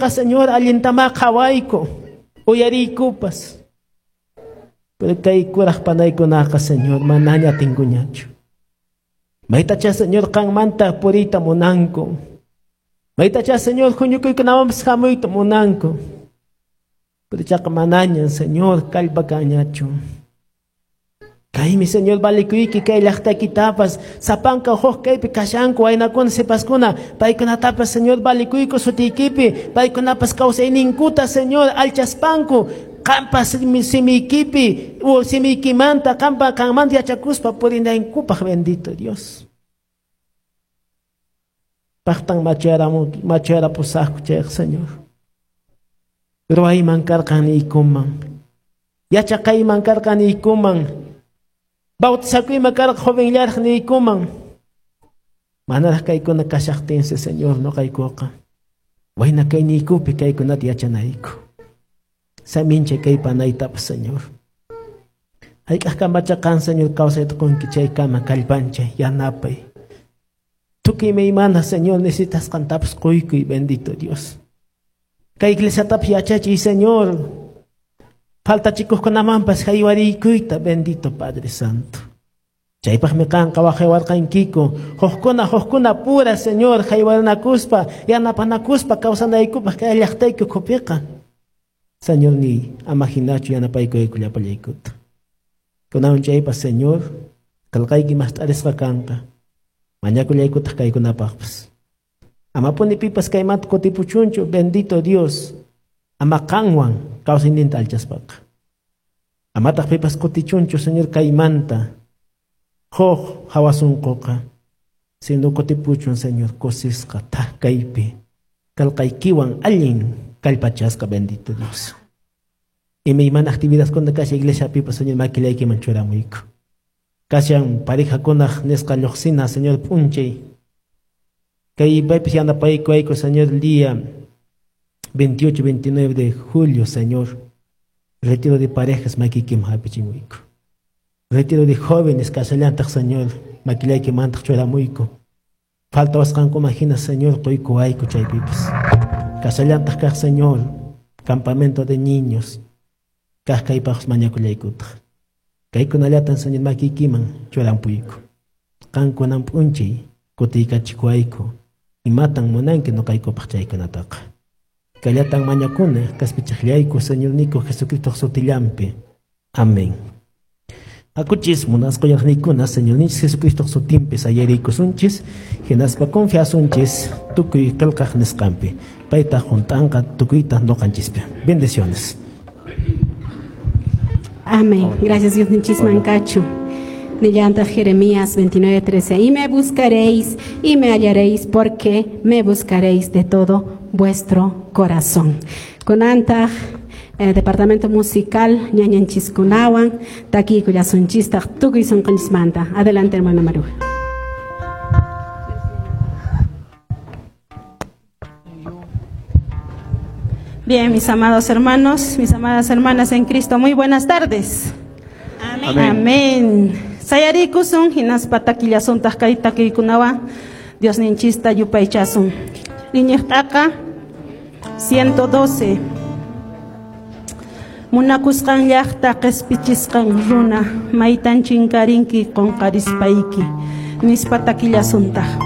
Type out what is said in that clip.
Señor, allintamá qhawayku, uyariykupas. Pero kay kuraq panaykunaqa, Señor, manaña atinkuñachu. Maytacha, Señor, qanmanta puriyta munanku. Maytacha, Señor, huñukuykunawanpas hamuyta munanku. Pero chaqa manaña, Señor, kallpa kanñachu. Kaymi, Señor, valikuyki kay llaqtaykitapas, sapanka huk kaypi kashanku waynakuna sipaskuna, paykunatapas, Señor, valikuyku sutiykipi, paykunapas kawsayninkuta, Señor, alchaspanku, qampa simiykipi, simiykimanta, qampa qanmanta yachakuspa purinankupaq, bendito Dios. Paqtan machayarapusaqku chayqa, Señor. Ruwayman karqan niykuman, yachaqayman karqan niykuman, bautizakuyman karqa jovenllaraq niykuman. Manaraq kaykuna kashaqtinsi, Señor, noqaykuqa wayna kayniykupi kaykunata yachanayku. Samincha kay panaytapas, Señor. Hayk'aq kamacha qan, Señor, kawsayta qunki chaykama kallpanchay, yanapay. Tukuy imaymana, Señor, necesitasqantapas quykuy, bendito Dios. Kay iglesiatapas yachachiy, Señor. Faltachikuqkunamanpas haywarikuyta, bendito Padre Santo. Chaypaqmi qanqa waqaywarqankiku, hukkuna hukkuna pura, Señor, haywarinakuspa, yanapanakuspa kawsanaykupaq kay llaqtayku ukhupiqa. Señor, ni ama hinachu yanapaykuyku llapallaykuta. Kunan chaypas, Señor, qillqayki mast'arisqa kanqa. Mañakullaykutaq kaykunapaqpas. Amapuni pipas kaymanta kutipuchunchu, bendito Dios. Ama qanwan kawsayninta alchaspaqa. Amataq pipas kutichunchu, Señor, kaymanta. Huk hawasunquqa. Sino kutipuchun, Señor, kusisqa thak kaypi. Qillqaykiwan allin kallpachasqa, bendito Dios. Imaymana actividadkuna kashan iglesiapipas, Señor, makillaykiman churamuyku. Kashan parejakunaq nisqa lluqsina, Señor, p'unchay. Kay paypis yanapaykuwayku, Señor, el día 28, 29 de julio, Señor. Retiro de parejas makiykiman hap'ichimuyku. Retiro de jóvenes kashallantaq, Señor, makillaykimantaq churamuyku. Faltawasqankuman hina, Señor, quykuwayku chaypipas. Kashallantaq kaq, Señor, campamento de niños. Kaq kaypaqpas mañakullaykutaq. Kaykunallatan, Señor, makiykiman churampuyku. Qankunan p'unchay kutiykachikuwayku. Imatan munanki noqaykupaq chaykunataqa. Kallatan mañakuna kaspichaqllayku, Señorniyku Jesucristo sutillanpi. Amén. Hakuchis munasqa uyariqniykuna, Señorninchis Jesucristo sutinpi sayariykusunchis, hinaspa confiasunchis tukuy qillqaq nisqanpi. Payta hunt'anqa tukuyta noqanchispi. Bendiciones. Amén. Gracias, Dios Mancachun. Nillantaq Jeremías 29:13. Y me buscaréis y me hallaréis, porque me buscaréis de todo vuestro corazón. Kunantaq departamento musical ñañanchiskunawan takiykullasunchistaq tukuy sunqunchismanta. Adelante, hermana Maruja. Bien, mis amados hermanos, mis amadas hermanas en Cristo, muy buenas tardes. Amén. Amén. Sayarikusun hinaspa takillasuntaq kay takiykunawan Diosninchista yupaychasun. Iñiqtaqa 112. Munakusqan llaqta qespichisqan runa maytan chinkarinki qunqarispayki nispa takillasuntaq.